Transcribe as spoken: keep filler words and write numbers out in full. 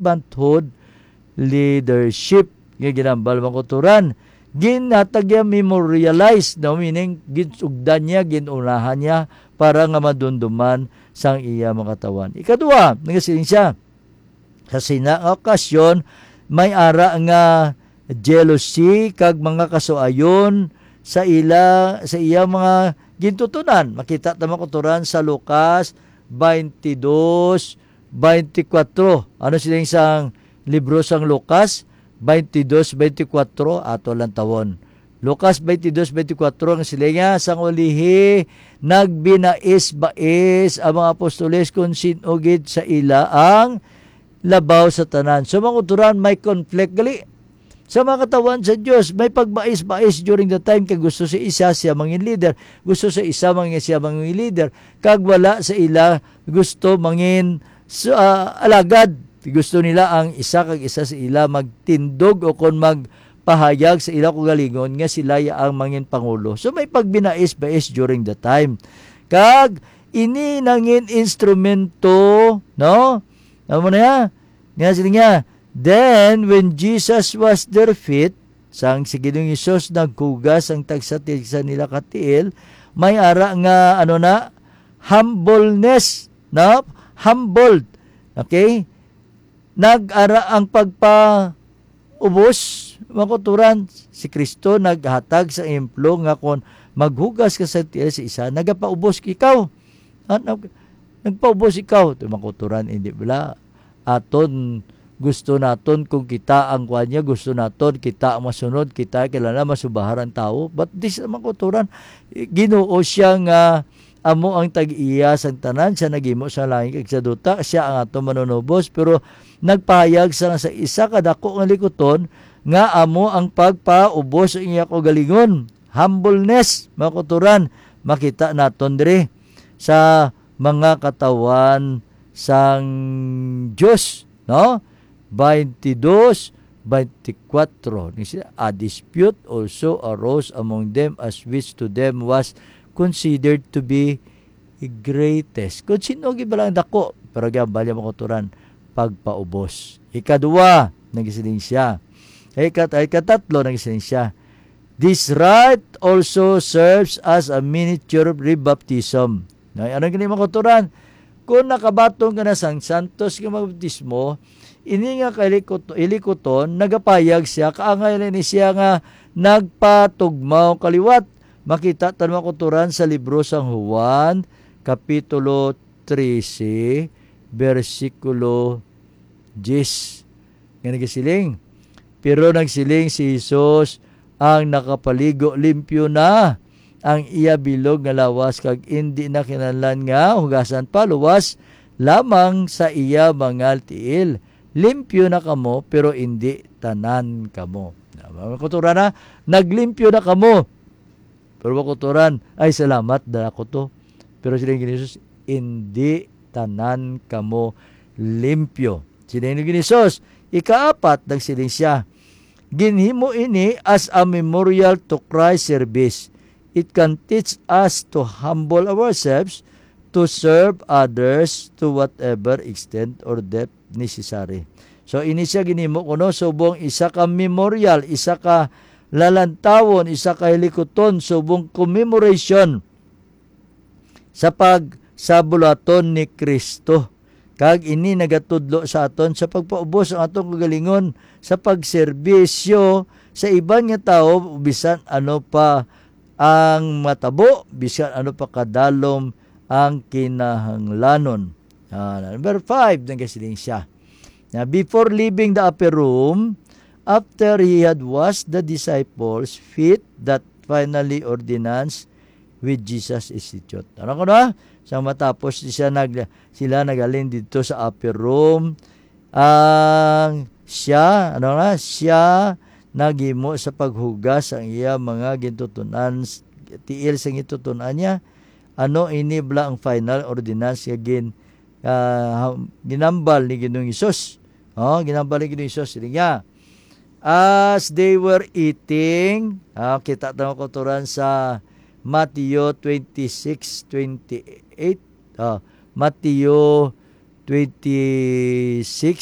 servanthood leadership nga ginambal, mga kauturan. Ginhatag niya, memorialize, no? Meaning, ginsugdan niya, ginunahan niya para nga madumduman sang iya mga katawhan. Ikadua, nagasiling siya, sa sina nga okasyon, may ara nga jealousy kag mga kasuayon sa ila, sa iya mga gintutunan. Makita ta, mga kauturan, sa Lucas twenty-two, twenty-four. Ano siling sang libro sang Lucas twenty-two, twenty-four? Ato lang tawon. Lucas twenty-two, twenty-four, ang siling niya, sang ulihi, nagbinais-bais ang mga apostoles kung sin-o gid sa ila ang labaw sa tanan. So, mga kauturan, may conflict gali sa mga katawhan sa Dios. May pagbais-bais during the time kay gusto sa isa siya mangin leader, gusto sa isa mangin siya mangin leader, kag wala sa ila gusto mangin s-, ah, alagad. Gusto nila ang isa kag isa sa ila magtindog o kon magpahayag sa ila kaugalingon nga sila ya ang mangin pangulo. So, may pagbinais-bais during the time. Kag ini nangin instrumento, no? Amo na ya? Nga sila nga, "Then, when Jesus was their feet," sang si Ginoong Hesus naghugas ang tagsa-tagsa nila ka tiil, may ara nga, ano na, humbleness, no? Humbled. Okay? Nag-ara ang pagpaubos, mga kauturan. Si Kristo naghatag sa ehemplo nga kon maghugas ka sa tiil sa isa, nagapaubos ikaw. Ah, nag-, nagpaubos ikaw. Ito, mga kauturan, hindi bala. Aton, gusto naton kung kita ang kuan niya, gusto naton kita ang masunod, kita kilala, masubahar ang tawo. But this, mga kauturan, Ginoo siya nga amo ang tag-iya sang tanan, siya naghimo sa langit kag sa duta, siya ang aton manunubos, pero nagpahayag sa, sa isa ka dako nga likuton nga amo ang pagpaubos sa iya kaugalingon. Humbleness, mga kauturan, makita naton diri sa mga katawhan sang Dios, no? Twenty-two, twenty-four. Ni siya, "A dispute also arose among them, as which to them was considered to be greatest." Kung sino gid bala ang dako, pero gihambal niya, mga kauturan, pagpaubos. Ikadua, nagsiling siya. Ikat-, ikatatlo, nagsiling siya, "This rite also serves as a miniature rebaptism." Na, ano gini, mga kauturan? Kung nakabaton ka na sang santos nga bautismo, ini nga kalikot-, ilikuton, nagapayag siya, kaangay na ni siya nga nagpatugmaw kaliwat. Makita ta, mga kauturan, sa libro sang Juan, Kapitulo trese, bersikulo diyes, nga nagasiling, "Pero nagsiling si Jesus, ang nakapaligo limpyo na ang iya bilog nga lawas, kag indi na kinahanglan nga hugasan pa luwas lamang sa iya mga tiil. Limpyo na kamo, pero indi tanan kamo." Na, mga kauturan, na, naglimpyo na kamo. Pero mga kauturan, "Ay, salamat, dala ko to." Pero siling ni Jesus, "Indi tanan kamo limpyo." Siling ni Jesus, ikaapat, nagsiling siya, "Ginhimo ini as a memorial to Christ's service. It can teach us to humble ourselves to serve others to whatever extent or depth necessary." So, ini siya ginhimo kuno subong isa ka memorial, isa ka lalantawon, isa ka hilikuton, subong commemoration sa pag-, sa buluhaton ni Cristo. Kag ini nagatudlo sa aton sa pagpaubos ang atong kagalingon sa pagserbisyo sa iban nga tawo, bisan ano pa ang matabo, bisan ano pa kadalom ang kinahanglanon. Ah, number five, nagasiling siya. Now, before leaving the upper room, after he had washed the disciples' feet, that finally ordinance with Jesus institute. Ano ko na? Sa matapos siya nag-, sila nagaling dito sa upper room, ang siya, ano na, siya naghimo sa paghugas ang iya mga gintutunan, tiil sa gintutunan niya. Ano ini bala ang final ordinance nga gin-, ah, ginambal ni Ginoong Hesus? Oh, ginambal ni Ginoong Hesus, siling niya, as they were eating, ah, kita ta, mga kauturan, sa Mateo twenty-six twenty-eight. Ah, Mateo twenty-six,